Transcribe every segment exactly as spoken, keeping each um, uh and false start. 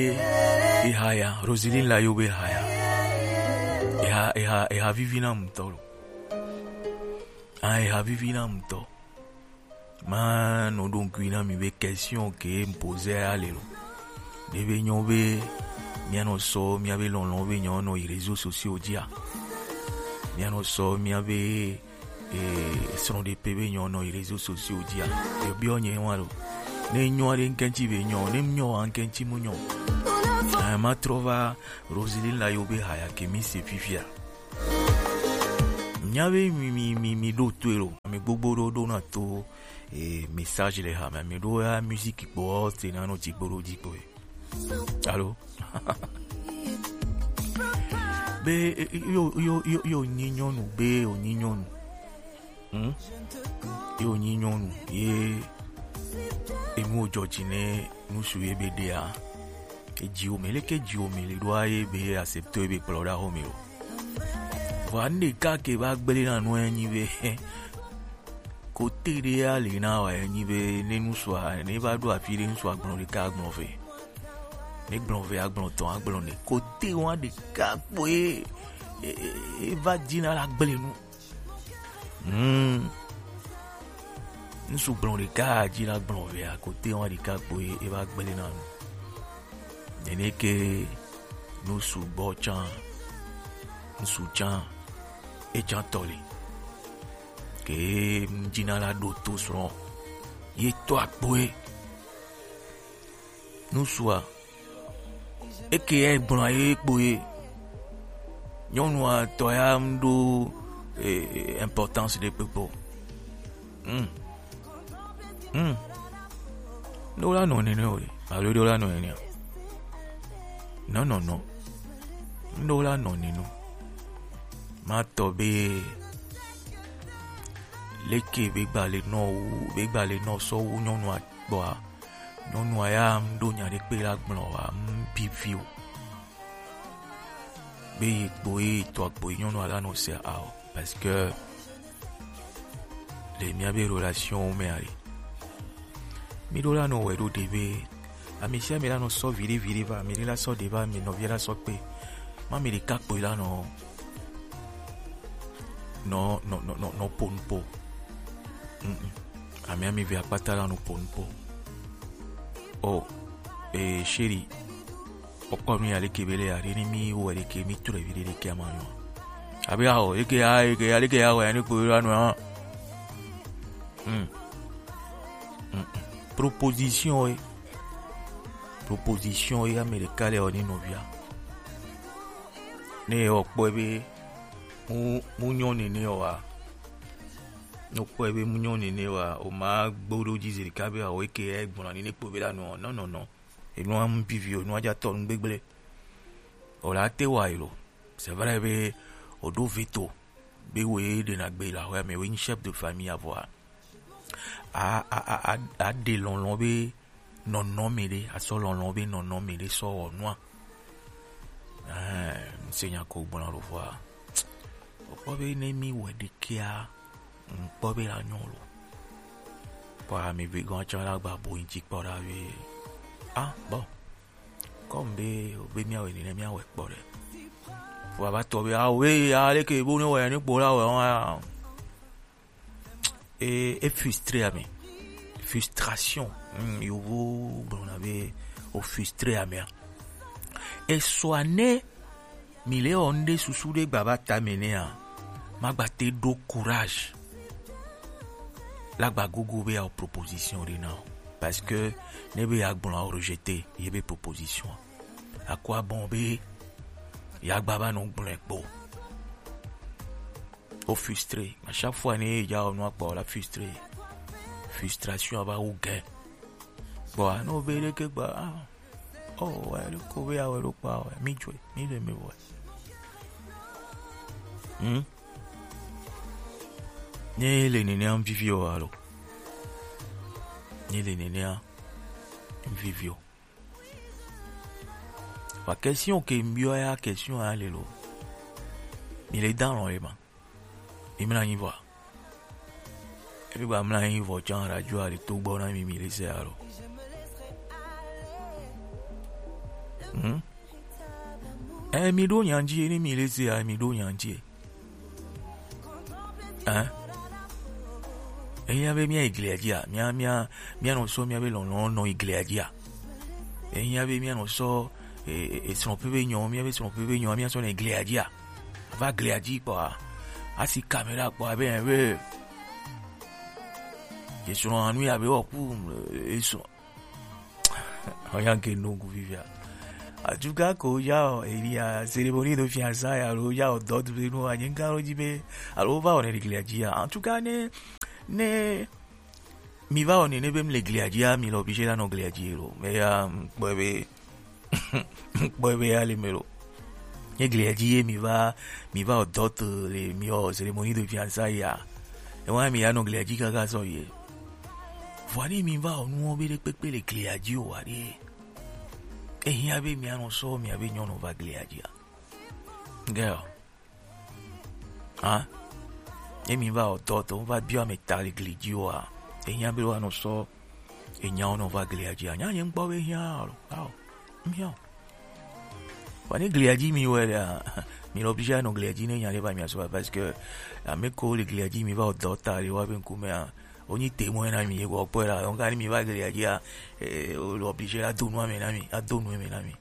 Ehaya, Roseline Layo be haya. Eha, eha, eha vivi na ŋutɔ lo. Ah, eha vivi na ŋutɔ. Ma nɔ ɖo ŋkui na mi be question ke m poser ale lo. Ne be nyɔ be mía nɔ sɔ mía be lɔlɔ̃ be nyɔ nɔ yi réseaux sociaux dzia. Mía nɔ sɔ mía be eh, srɔ̃ɖeƒe be nyɔ nɔ yi réseaux sociaux dzia. Ebiɔ nye wa lo. Ne nyɔ aɖe ŋkɛntsi be nyɔ, ne nyɔ wa ŋkɛntsi mu nyɔ. Eh, ma trɔ va Roseline Layo be haya ke mi se fifia. Nya be mi, mi, mi, mi ɖo toe lo. Mi gbogbo ɖo ɖo na to, eh, message le ha me. Mi ɖo ya musique kpɔ, te na nɔ dzigbo ɖo dzigbo ye. Alo? Be, eh, yo, yo, yo, yo, nyi nyɔnu, be, o nyi nyɔnu. Hmm? Yo, nyi nyɔnu, ye, enu wo dzɔ dzi ne nusu ye be ɖea. Edziwo me, leke dziwo me le ɖoa ye be accepte be kplɔ ɖa xɔ me o. Vɔa nu ɖeka ke va gblẽ na nua ye nyi be, kote ɖe ya le na wa ye nyi be ne nusua, ne va ɖo afi ɖe nusua gblɔ ɖeka agblɔ ve. Ne gblɔ ve agblɔ tɔn agblɔ ne. Kote wa ɖeka kpoe, e, e, e va dzi na la gblẽ nu. Hmm. Ŋsu gblɔ ɖeka dzi la gblɔ vea, kote wa ɖeka kpoe e va gblẽ na nu. Nene ke nusu gbɔ tsã, ŋsu tsã, e tsã tɔ li. Ke ŋdzi na la ɖo to srɔ̃. Ye tɔ akpoe. Nusua, eke ya gblɔ ye kpo ye. Nyɔnua tɔ ya ŋɖo, eh, eh, importance ɖe kpekpe o. Hmm. Hmm. Ɖo la nɔ nene o. Alo ɖo la nɔ nene o. Non, non, non. Ɖo la nɔ nene o. Ma tɔ be leke be gba le nɔ wu, be gba le nɔ sɔ wu nyɔnua gbɔa. Nyɔnua ya ŋɖo nya ɖe kpe la gblɔ wa, ŋbi vi o. Be yi kpo ye tɔ kpo ye nyɔnua la nɔ se a o. Parce que le mía be relation me ali. Mi ɖo la nɔ wɛ ɖo ɖe be ami sia mi la nɔ sɔ viɖe viɖe va, mi ɖe la sɔ ɖe va, mi nɔvi la sɔ kpe. Ma mi ɖeka kpo ye la nɔ, nɔ, nɔ, nɔ, nɔ, nɔ po nu po. Mm, mm. Ami ami ve akpata la nu po nu po. Oh, eh, chérie. Kpɔkpɔ mi aleke be le ya ɖe ni mi wɛ ɖeke mi trɔ vi ɖe ɖeke ama nyɔ. Abi ya o, eke ya, eke ya, aleke ya wɛ ni kpo la nu a. Hmm. Hmm. Proposition e. Proposition e ame ɖeka le o ni nɔvia. Ne o kpɔ be mu, mu nyɔ nene o wa. Ne o kpɔ be mu nyɔ nene wa, o ma gbo ɖo dzi zi ɖeka be o eke ya gblɔ ni ne kpo be la nu. Non, non, non. Enua ŋu vivi o, enua dza tɔ nu gbegble. O la te wa yi lo. C'est vrai be o ɖo veto be wo ye ɖena gbe la xɔa me, wo nyi chef de famille avɔa. A, a, a, a, a ɖe lɔlɔ̃ be nɔnɔme ɖe, a sɔ lɔlɔ̃ be nɔnɔme ɖe sɔ wɔ nua. Eh, ŋse nya ko gblɔ lo vɔa. O kpɔ be ne mi wɛ ɖekea, ŋkpɔ be la nyɔ lo. Kpɔ ami ve gɔn tsɔ la gba bo ŋtsi kpɔ ɖa be. Ah, bon. Comme be, be mía wɛ nene mía wɛ kpɔ ɖe. Vɔ a va tɔ be, ah, we, ah, leke bo ne wɛ ne kpɔ la wɛ, ah. E, e frustré ame. Frustration. Hmm, yovo gblɔna be o frustré amea. Esɔa ne mi le wɔ ŋɖe susu ɖe gba va ta me nɛa, ma gba te ɖo courage. La gba gogo be ya o proposition ɖe na o. Parce que ne be ya gblɔ o rejeter ye be proposition. Akɔ abɔn be ya gba va nɔ gblɔe kpo. O frustré. À chaque fois ne ya o nua kpɔ la frustré. Frustration ava wu gɛ. Bon, a no be ɖeke gba, ah. Oh, ouais, le ko be ya wɛ ɖo kpa wɛ. Mi jwe, mi le mi wɛ. Hmm? Ne le nene an vivi o alo. Ne le nene an vivi o. Wa question ke mbiɔ ya, question ya le lo. Mi le dan lo le ma. Mi mla anyi vɔ. Ebi gba mla anyi vɔ tsã radio a le to gbɔ na mi, mi le se alo. Eh, mi ɖo nya ŋuti, ne mi le se ya, mi ɖo nya ŋuti. Hein? Ehiã be mía yi glia dzi a, mía, mía, mía nɔ sɔ mía be lɔlɔ nɔ yi glia dzi a. Ehiã be mía nɔ sɔ, e, e, e, srɔ̃ƒe be nyɔ, mía be srɔ̃ƒe be nyɔ, mía sɔ nɔ yi glia dzi a. Va glia dzi kpɔa, asi kamera kpɔa be, be, e srɔ̃ anu ya be wɔ ku, e srɔ̃. Oya ke no ku fifia. Atuka ko ya o, elia cérémonie de fiançailles alo ya o dot be no anyi kan lo dzi be, alo va o ne glia dzi a. En tout cas, ne, ne mi va o ne, ne be mi le glia dzi a, mi le obligé la nɔ glia dzi lo. Mais ya, kpɔ be, kpɔ be ya le me lo. Ye glia dzi ye mi va, mi va o dot le mi o cérémonie de fiançailles ya. E wa mi ya nɔ glia dzi kaka sɔ ye. Vɔa ne mi va o nuwo be ɖe kpekpe le glia dzi o wa ɖe. Ehiã be mia nɔ sɔ mia be nyɔnu va glia dzi a. Girl. Hein? Ne mi va o dot, va biɔ ame ta le gli dzi o a. Ehiã be wa nɔ sɔ enyawo nɔ va glia dzi a. Nya nye ŋkpɔ be hiã o. Ao. Mia. Vɔa ne glia dzi mi wɛ ɖea, mi le obligé anɔ glia dzi ne nya ɖe va mia sɔ, parce que ame ko le glia dzi mi va o dot ta le wa be ŋkume a, wonyi témoin na mi, wɔ kpɔe la, donc ani mi va glia dzi a, eh, wo le obligé ado nu ame na mi, ado nu ame na mi.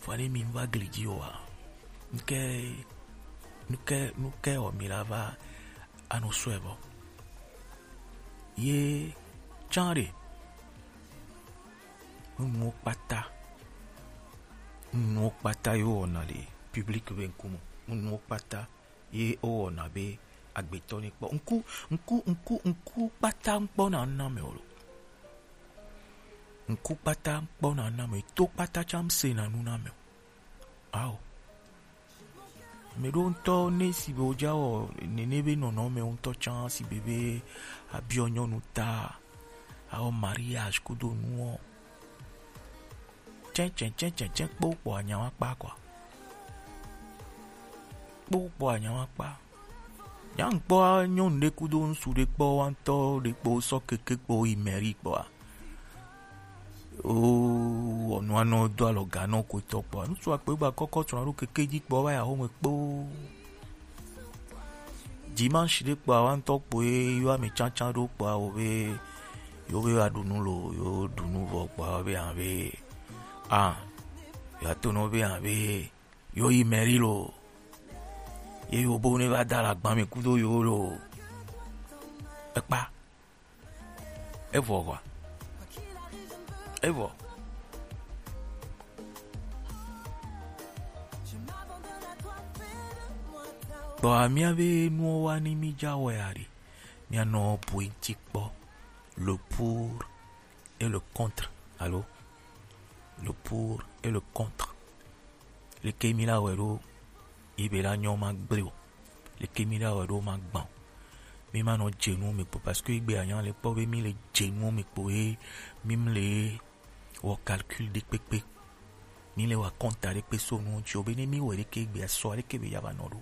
Vɔa ne mi va gli dzi o a, nuke, nuke, nuke o mi la va anɔ sɔe bɔ. Ye tsã ɖe, nunuwo kpata, nunuwo kpata ye wowɔna le public be ŋkume, nunuwo kpata ye wowɔna be agbetɔ ne kpɔ. Ŋku, ŋku, ŋku, ŋku kpata ŋkpɔna nu na ame o lo. Ŋku kpata ŋkpɔna nu na ame, to kpata tsã ŋsena nu na ame o. Ao. Ame ɖewo ŋutɔ ne si be wodza wɔ nene be nɔnɔme ŋutɔ tsã si be be abiɔ nyɔnu ta, awɔ mariage kudo nuwo. Tsɛtsɛtsɛtsɛ kpo kpɔ anya wa kpa kɔa. Kpo kpɔ anya wa kpa. Nya ŋkpɔ nyɔnu ɖe kudo ŋsu ɖe kpɔ wa ŋutɔ ɖe kpo sɔ keke kpo yi mairie kpɔa. O, wɔnu anɔ do alɔ ga nɔ ko tɔ kpɔa. Ŋsu akpe gba kɔkɔ tsɔ ɖo keke dzi kpɔ va ya home kpo. Dimanche ɖe kpɔa wa ŋutɔ kpoe yɔ ame tsantsan ɖo kpɔa wo be yo be wa ɖu nu lo, yo ɖu nu vɔ kpɔa wo be hã be ah, yo ato nɔ be hã be yo yi mairie lo. Ye yo bo ne va da la gba me kudo yo lo. Ekpa. Evɔ hwa. Evɔ. Kpɔa mía be nuwo wa ni mi dza wɔe aɖe. Mía nɔ politique kpɔ. Le pour et le contre. Alo? Le pour et le contre. Leke mi la wɔe ɖo? Ye be la nyɔ ma gble o. Leke mi la wɔe ɖo ma gbã o? Mi ma nɔ dze nu me kpo, parce que egbe anya le kpɔ be mi le dze nu me kpo ye mi mle wɔ calcul ɖe kpekpe. Mi le wa compte ɖe kpe so nu ŋuti o be ne mi wɔ ɖeke egbe asɔ ɖeke be ya va nɔ ɖo.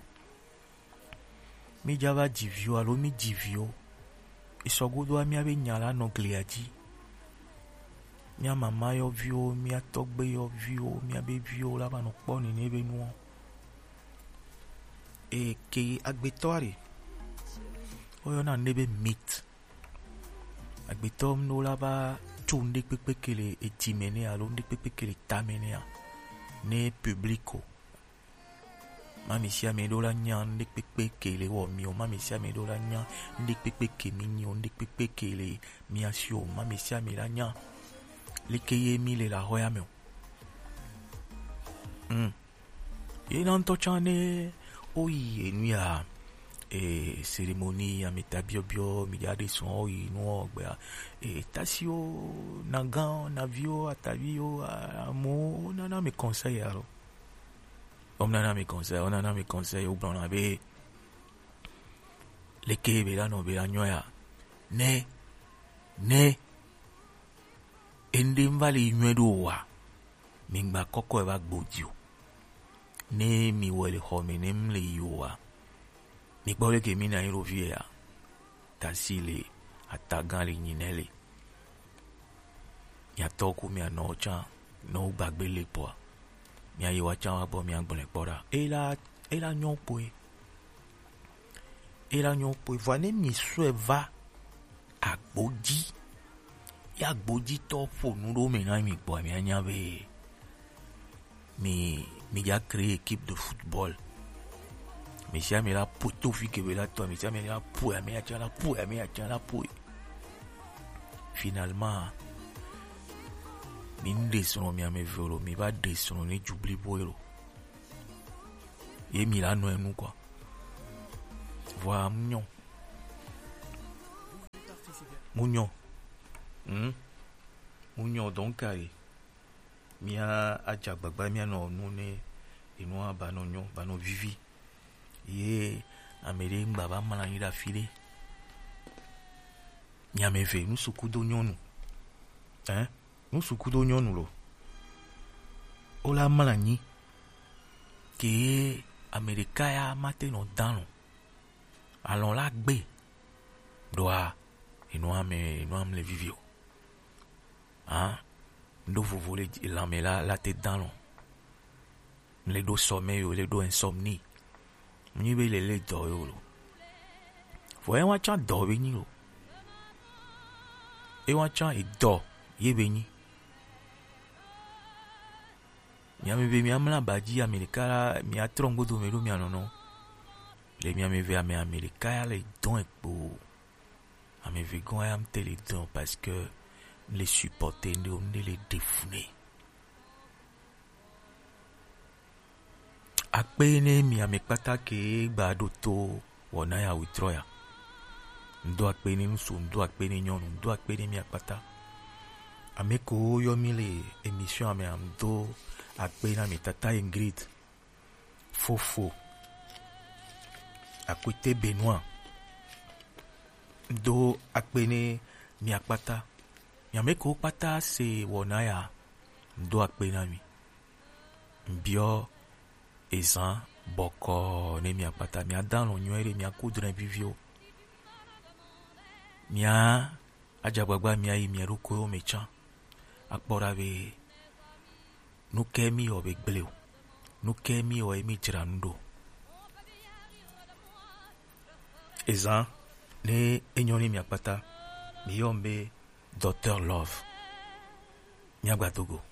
Mi dza va dzi viwo alo mi dzi viwo. Esɔgodoa mía be nya la nɔ glia dzi. Mía mama yɔviwo, mía tɔgbe yɔviwo, mía be viwo la va nɔ kpɔ nene be nuwo. Eke agbetɔ aɖe, woyɔna nene be mythe. Agbetɔ mɖo la va tso nuɖe kpekpe ke le edzi me nɛ alo nuɖe kpekpe ke le ta me nɛa, ne public o. Mami sia ame ɖo la nya nuɖe kpekpe ke le wɔ mi o. Mami sia ame ɖo la nya nuɖe kpekpe ke mi nyi o. Nuɖe kpekpe ke le mia si o. Mami sia ame la nya leke ye mi le la xɔya me o. Hmm. Ye na ŋutɔ tsã ne woyi enu ya, e, cérémonie, ameta biɔbiɔ, mi ɖa ɖe sɔn woyi nuwo gbea, e, tasiwo, nagã, naviwo, ataviwo, a-, amewo nana mi conseil alo. Wonana mi conseil, wonana mi conseil, wogblɔna be, leke be la nɔ be la nyɔ ya? Ne, ne, enuɖe ŋva le yi nyɔe ɖo oa, mi ŋgba kɔkɔe va gbo dzi o. Ne mi wɔ le xɔ me ne mi le yi oa, mi kpɔ leke mi na yi ɖo fi ya. Tasi le, atagã le, nyinɛ le. Miatɔ ku mianɔ tsã, ne wo gbagbe le kpɔa, Mia yi wa can wa gbɔ, mia gblɔe kpɔ ɖa. E la, e la nyɔ kpoe. E la nyɔ kpoe. Vɔ ne mi sɔe va agbo ji, ya agbo ji tɔ ƒo nu ɖo me na mi gbɔ, mi anya be mi, mi ja créer équipe de football. Mi sia mi la ƒoe to fi ke be la tɔ, mi sia mi la ƒoe, ame ya can la ƒoe, ame ya can la ƒoe. Finalement, mi nu ɖe srɔ̃ mi ame eve lo, mi va ɖe srɔ̃ ne ju blibo lo. Ye mi la nɔ enu quoi. Vɔa mu nyɔ. Mu nyɔ. Hmm? Mu nyɔ donc ayi. Mia adze agbagba mia nɔ nu ne enua ba nɔ nyɔ, ba nɔ vivi. Ye ame ɖe ŋgba va mla anyi ɖe afi ɖe. Mi ame eve, ŋutsu kudo nyɔnu. Hein? Ŋutsu kudo nyɔnu lo. Wo la mla anyi. Ke ame ɖeka ya mate nɔ dalɔ̃. Alɔ̃ la gbe. Ɖoa, enua me, enua mle vivi o. Hein? Ŋɖo vovo le dzi-, lãme la, la te dalɔ̃. Le ɖo sommeil yo, le ɖo insomnie. Mu nyi be le le dɔ yo lo. Vɔ e wa can dɔ be nyi lo. E wa can edɔ ye be nyi. Mi ame eve mia mla ba ji, ame ɖeka la, mia trɔ ŋgodo me ɖo mia nɔnɔ. Le mi ame eve ame, ame ɖeka ya le dɔn ekpo. Ame eve gɔn ya mte le dɔn parce que le supporter ŋɖe, ŋɖe le ɖe fu nɛ. Akpe ne mi ame kpata ke gba ɖo to wɔna ya wetrɔ ya. Ŋdo akpe ne ŋutsu, ŋdo akpe ne nyɔnu, ŋdo akpe ne mi akpata. Ame ko yɔ mi le émission ame, ŋdo akpe na mi tata Ingrid, fofo Akwete Benoit. Ŋdo akpe ne mi akpata. Mi ame ko kpata se wɔna ya, ŋdo akpe na mi. Ŋbiɔ ezan bɔkɔ ne mi akpata, mia dalɔ̃ nyuie ɖe, mia ku dre viviwo. Mia adze agbagba mia yi mia ɖokuiwo me can. Akpɔ ɖa be nu ke mi wɔ be gble o. Nu ke mi wɔ ye mi dzra nu ɖo. Ezan ne enyɔ ne mi akpata, mi yɔ be Docteur Love. Mia gba do go.